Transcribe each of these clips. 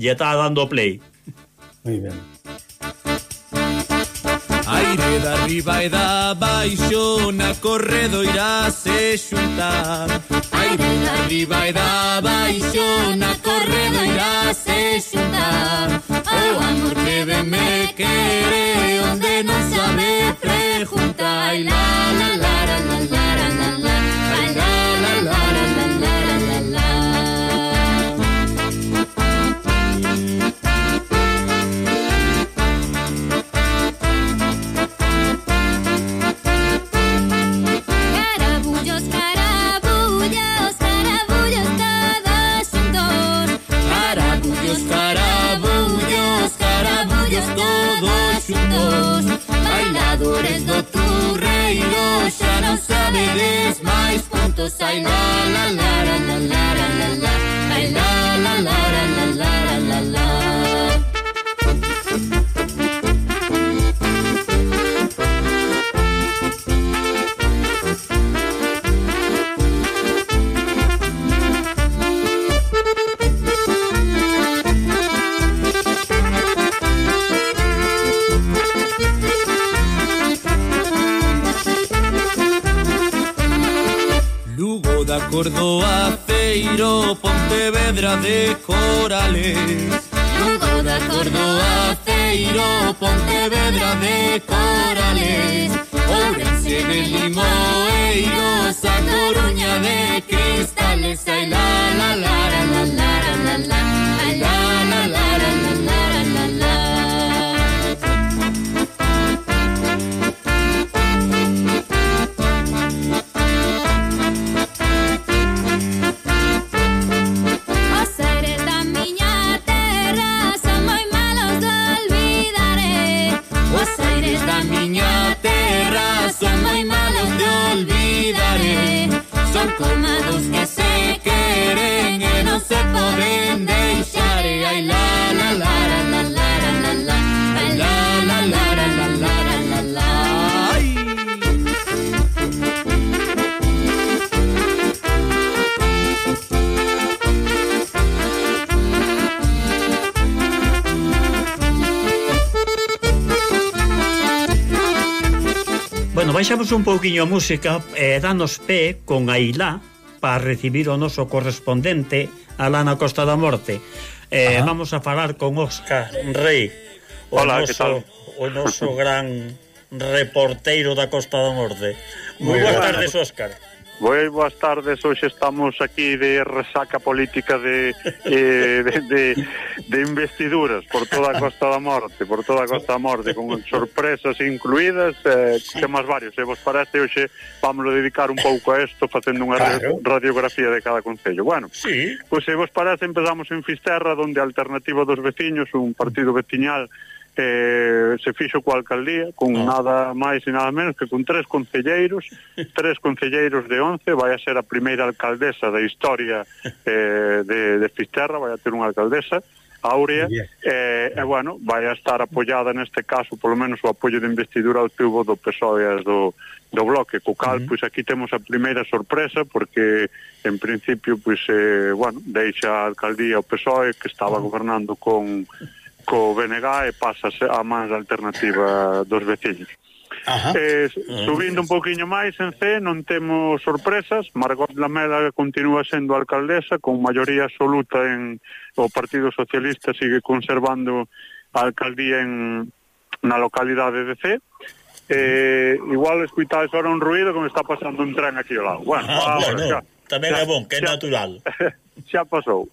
lle está dando play. Moi ben. Aire da arriba e da baixo na corredoira se xuntar. Aire da arriba e da baixo na corredoira se xuntar. O amor que de me quere onde non sabe preguntar. Ai la la la la la la la la. Ai la la la la la la la la. Bailadores do turreiro xa non sabedes máis puntos. Ai la la la la la la la la. Ai la la la la la la la la. Da Córdoba, Feiro, Pontevedra de Corales. Lugo da Córdoba, Feiro, Pontevedra de Corales. Ourense de Limoeiros, a Coruña de Cristales. Ai la la la la la la la la. Ai la la la la la la la la. Son como dos que se queren e non se poden deixar. Ai la la la la la la la la. Ai la la la la la la la la. Bueno, baixamos un pouquiño a música e danos pé con Ailá para recibir o noso correspondente alá na Costa da Morte. Vamos a falar con Óscar Rei. Hola, que tal? O noso gran reporteiro da Costa da Morte. Moi boas tardes, Óscar. Boas tardes, hoxe estamos aquí de resaca política de investiduras por toda a Costa da Morte, con sorpresas incluídas, temas varios, e vos parece hoxe vamos a dedicar un pouco a isto facendo unha radiografía de cada concello. Bueno, sí. Pois se vos parece empezamos en Fisterra, donde a Alternativa dos Veciños, un partido veciñal, se fixo coa alcaldía con nada máis e nada menos que con 3 concelleiros de 11. Vai a ser a primeira alcaldesa da historia de Fisterra, vai a ter unha alcaldesa Áurea, e bueno, vai a estar apoiada neste caso, polo menos o apoio de investidura obtivo do PSOE e do Bloque, co cal, pois aquí temos a primeira sorpresa, porque en principio, pois, bueno, deixa a alcaldía o PSOE, que estaba gobernando co BNG, e pasa a máis Alternativa dos Veciños. Subindo un pouquiño máis en C, non temos sorpresas. Margot Lamela continúa sendo alcaldesa con maioría absoluta o Partido Socialista, sigue conservando a alcaldía na localidade de C. Igual escuitades ahora un ruido que me está pasando un tren aquí ao lado. Bueno, tamén é bon, que é natural. Xa pasou.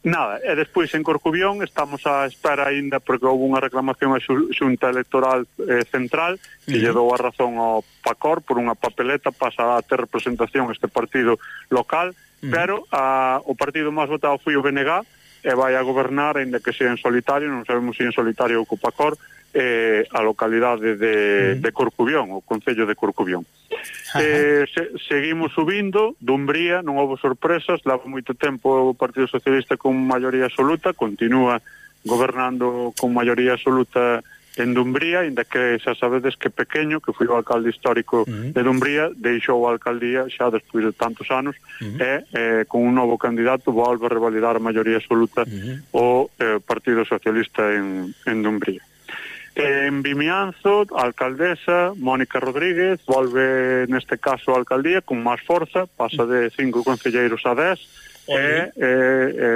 Nada, e despois en Corcubión estamos á espera aínda, porque houve unha reclamación á Xunta Electoral Central que lle dou a razón ao PACOR por unha papeleta, pasa a ter representación este partido local, pero o partido máis votado foi o BNG e vai a gobernar, aínda que sea en solitario, non sabemos se en solitario ou co PACOR, a localidade de Corcubión, o concello de Corcubión. Seguimos subindo, Dumbría, non houve sorpresas, leva moito tempo o Partido Socialista con maioría absoluta, continúa gobernando con maioría absoluta en Dumbría, inda que xa sabedes que Pequeño, que foi o alcalde histórico de Dumbría, deixou a alcaldía xa despois de tantos anos e con un novo candidato volve a revalidar a maioría absoluta o Partido Socialista en Dumbría. En Vimianzo, a alcaldesa Mónica Rodríguez volve neste caso a alcaldía con máis forza, pasa de 5 concelleiros a 10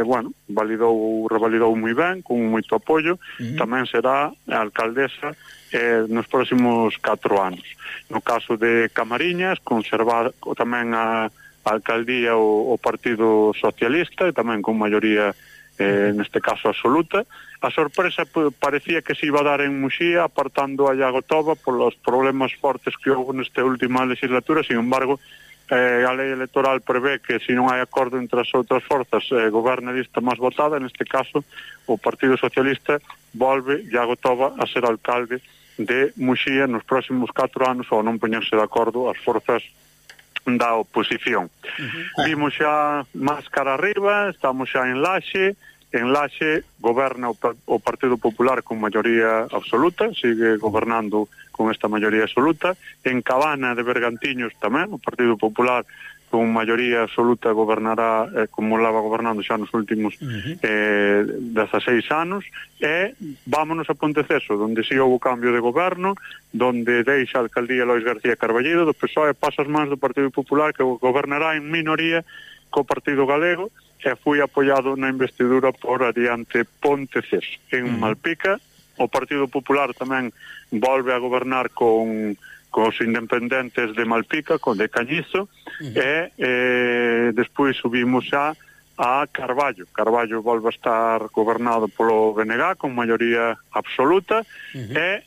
bueno, revalidou moi ben, con moito apoio. Tamén será a alcaldesa nos próximos 4 anos. No caso de Camariñas, conservar tamén a alcaldía o Partido Socialista, e tamén con maioría neste caso absoluta. A sorpresa parecía que se iba a dar en Muxía, apartando a Iago Toba polos problemas fortes que houve nesta última legislatura. Sin embargo, a lei electoral prevé que se non hai acordo entre as outras forzas, goberna a lista máis votada. Neste caso o Partido Socialista volve Iago Toba a ser alcalde de Muxía nos próximos 4 anos, ao non poñerse de acordo as forzas da oposición. Vimos xa máis cara arriba, estamos xa en Laxe. En Laxe goberna o Partido Popular con maioría absoluta, sigue gobernando con esta maioría absoluta. En Cabana de Bergantiños tamén, o Partido Popular con maioría absoluta gobernará como leva gobernando xa nos últimos 16 anos. E vámonos a Ponteceso, donde si houve cambio de goberno, donde deixa a alcaldía Lois García Carballido do PSOE, pasa as mans do Partido Popular, que gobernará en minoría co Partido Galego, e foi apoiado na investidura por Adiante Ponteceso. En Malpica, o Partido Popular tamén volve a gobernar con os independentes de Malpica, con de Cañizo, e despois subimos xa a Carballo. Carballo volve a estar gobernado polo BNG con maioría absoluta, e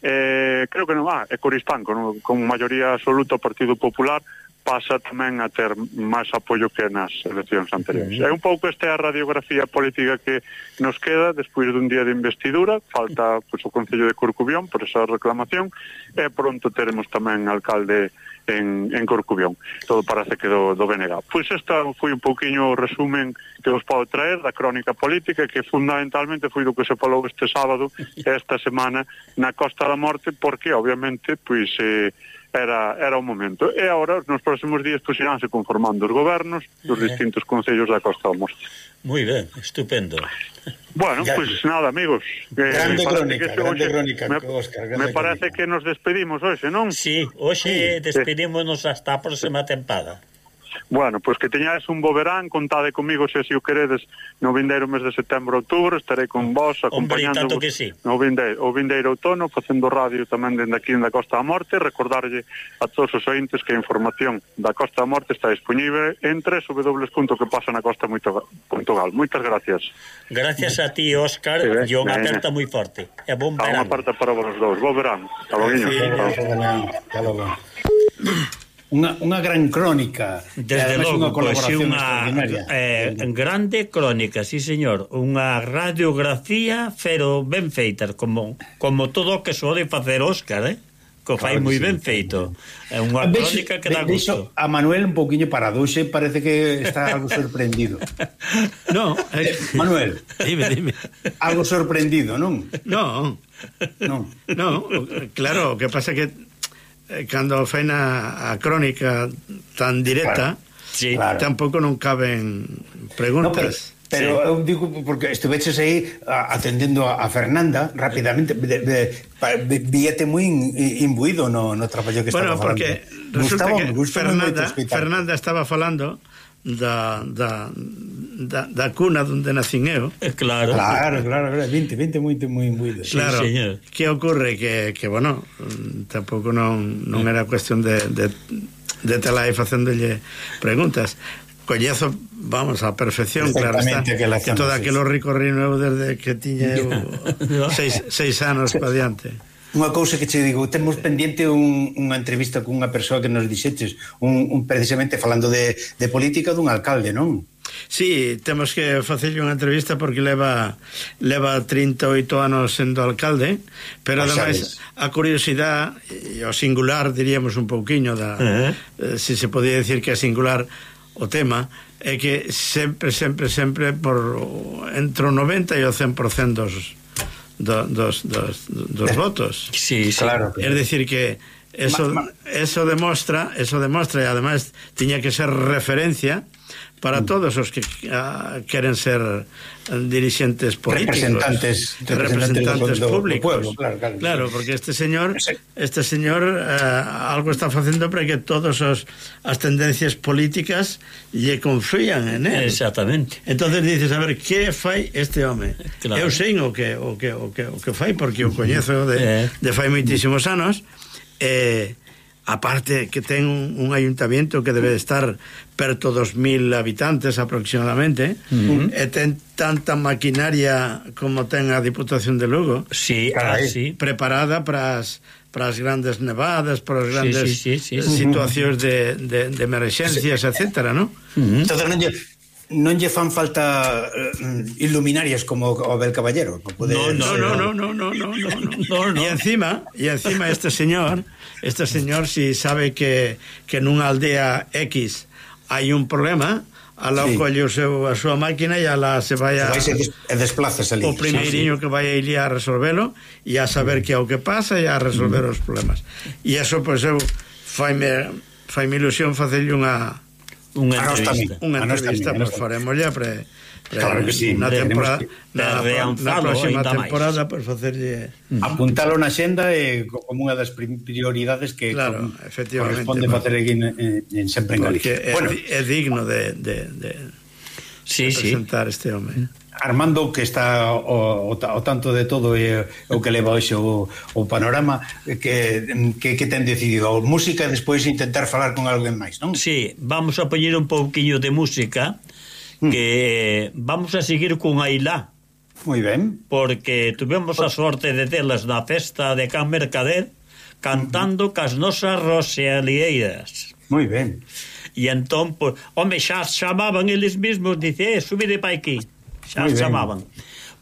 creo que non é Coristanco, con maioría absoluta o Partido Popular pasa tamén a ter máis apoio que nas eleccións anteriores. É un pouco esta a radiografía política que nos queda despois dun día de investidura. Falta o Concello de Corcubión por esa reclamación, e pronto teremos tamén alcalde en Corcubión. Todo parece que do BNG. Pois esta foi un pouquiño o resumen que vos podo traer da crónica política, que fundamentalmente foi do que se falou este sábado e esta semana na Costa da Morte, porque obviamente pois era o momento. E agora, nos próximos días, pois iránse conformando os gobernos dos distintos concellos da Costa da Morte. Moi ben, estupendo. Bueno, pois nada, amigos. Grande crónica, Óscar. Me parece que nos despedimos hoxe, non? Sí, hoxe despedímonos hasta a próxima tempada. Bueno, pois que teñades un bo verán, contade comigo se así o queredes no vindeiro mes de setembro, outubro, estarei con vos acompañando sí. o vindeiro outono, facendo radio tamén dende aquí da Costa da Morte. Recordarlle a todos os ointes que a información da Costa da Morte está disponible en www.quepasanacosta.gal. Moitas gracias. Gracias a ti, Óscar, e unha aperta moi forte. E bon verán. Unha aperta para vos dous. Bo verán. Hasta logo. Unha gran crónica. Desde logo, pois unha grande crónica, sí señor. Unha radiografía, pero ben feita, como todo o que sode facer Óscar, que fai moi ben feito. É unha crónica que dá gusto. A Manuel un pouquiño paradoxe, parece que está algo sorprendido. No, Manuel, dime. Algo sorprendido, non? No, claro, o que pasa que cando fai a crónica tan directa, claro, tampouco non caben preguntas. No, pero eu digo, porque estuveches aí atendendo a Fernanda rapidamente, víate moi imbuído no traballo que estaba falando. Porque resulta que Fernanda estaba falando da cuna onde nacín eu. Claro, 20 moi imbuído. Claro, sí, que ocurre que bueno, tampouco non era cuestión de tela aí facéndolle preguntas. Coñezo, vamos, a perfección, claro está, que todo aquilo recorrido desde que tiña eu 6 anos pa diante. Unha cousa que che digo, temos pendiente unha entrevista con unha persoa que nos dixeches, precisamente falando de política dun alcalde, non? Sí, temos que facerlle unha entrevista porque leva 38 anos sendo alcalde, pero ademais a curiosidade e o singular, diríamos un pouquiño se se podía decir que é singular o tema, é que sempre por entre o 90 e o 100% dos votos. Sí, claro. Es decir que eso demostra e además tiña que ser referencia para todos os que queren ser dirixentes políticos, representantes públicos. Do pueblo, claro, porque este señor algo está facendo para que todas as tendencias políticas lle confían en él. Exactamente. Entonces dices, a ver, que fai este home? Claro. Eu sei o que fai, porque o coñezo de fai moitísimos anos. Aparte que ten un ayuntamiento que debe estar perto dos 2.000 habitantes aproximadamente, e ten tanta maquinaria como ten a Diputación de Lugo, sí, sí. preparada para as grandes nevadas, para as grandes situacións de emerxencias, etcétera, ¿no? Entonces non lle fan falta iluminarias como o Abel Caballero. No. Y encima este señor si sabe que nunha aldea X hai un problema, alá colle a súa máquina e alá se vai e desplazas ali. O primeiriño que vai a ir a resolvelo e a saber que é o que pasa e a resolver os problemas. E eso, pois, eu faime ilusión facerlle unha entrevista, pues faremoslle claro que sí, na próxima temporada, pues facerlle apuntalo na xenda como unha das prioridades que corresponde facer aquí en sempre en Galicia. Bueno, é digno de presentar este home. Armando, que está o tanto de todo e o que leva hoxe o panorama, que ten decidido música e despois intentar falar con alguén máis, non? Sí, vamos a poñer un pouquiño de música, que vamos a seguir con Ailá. Moi ben. Porque tuvemos a sorte de telas na festa de Can Mercader cantando cas nosas rosealieiras. Moi ben. E entón, pues, home, xa chamaban eles mesmos, dice, subide pa aquí. Xa chamaban.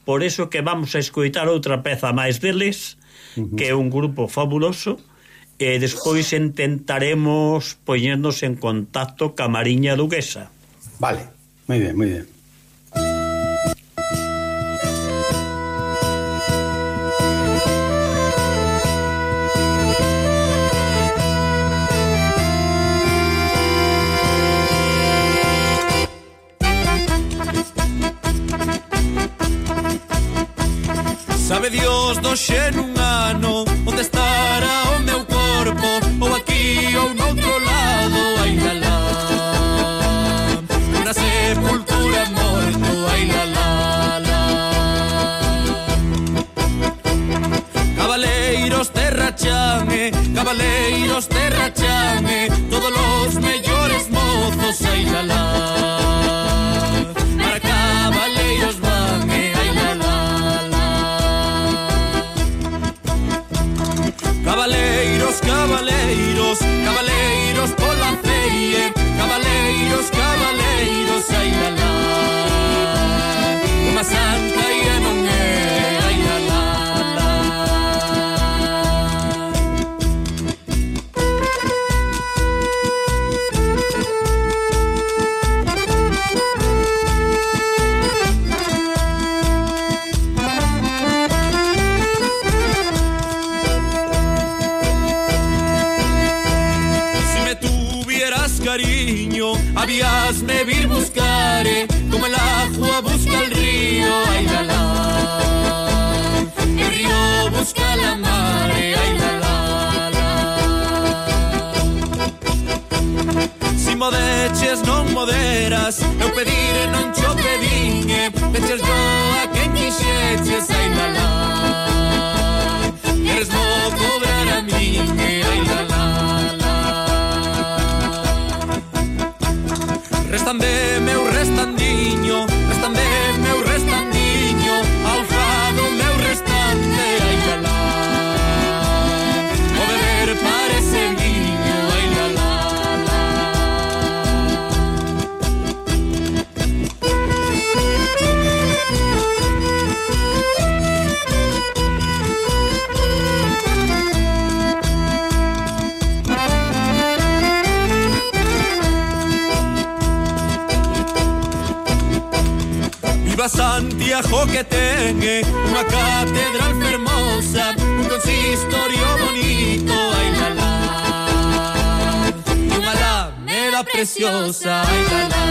Por eso que vamos a escoitar outra peza máis deles, que é un grupo fabuloso, e despois intentaremos poñernos en contacto ca Mariña Duquesa. Vale, moi ben, moi ben. Sabe Dios do xe nun ano onde estará o meu corpo, ou aquí ou noutro lado, ai la la. Una sepultura morto, ai la la la. Cabaleiros terrachame, todos los mellores mozos, ai la la. Para cabaleiros van, ai la la. Cabaleiros pola feie, cabaleiros, ai la la. Unha santa e non é, ai la la la. Cariño, habíasme vir buscare, como el agua busca el río, ay la la. El río busca la mare, ay la la la. Si modeches non moderas, eu pedir non cho pedinhe, peches yo a quen quixeches, ay la la. Queres no cobrar a miñe, ay la la. Restande meu restandiño, ao fado meu restante, ai la la. O beber parece viño, ai la la la. Santiago que ten unha catedral fermosa, un consistorio bonito, ai la la, e unha alameda preciosa, ai la la.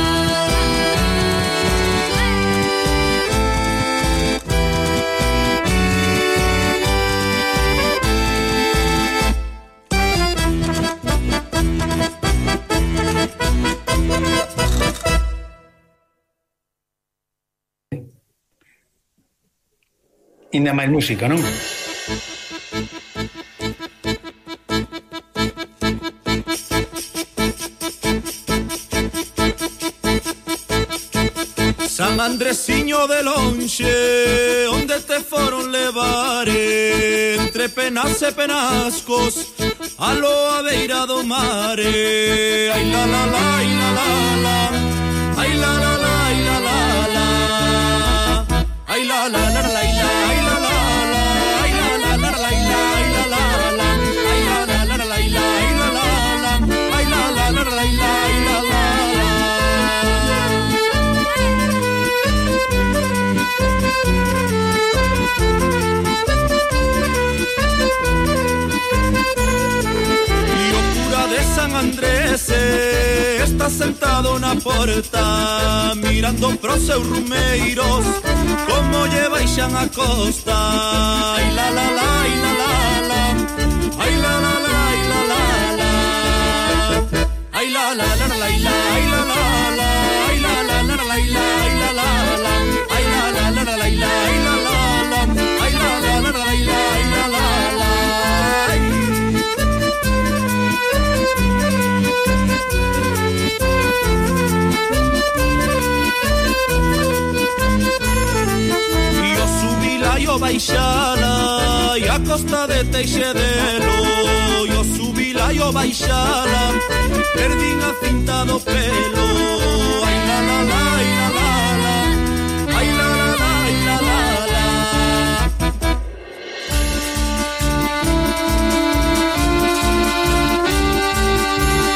Ainda máis música, non? San Andresiño de lonxe, onde te foron levar, entre penas e penascos, a loa beira do mar. Ai la la la, ai la la la, ai la la la, ai la la la, ai la la la la, ai la ai la la la, ai la la la la, ai la ai la la la, ai la la la la, ai la ai la la la, ai la la la la, ai la ai la la. E o cura de San Andrés está sentado na porta, mirando pros seus rumeiros como lle baixan a costa. Ai la la la, ai la la la, ai la la la, ai la la la, ai la la la la, ai la ai la la la, ai la la la la, ai la ai la la la, ai la la la la, ai la ai la la la, ai la la la la, ai la ai la la la. E o baixala e a costa de Teixedelo, e o subila e o baixala, perdín a cinta do pelo. Ai la la la,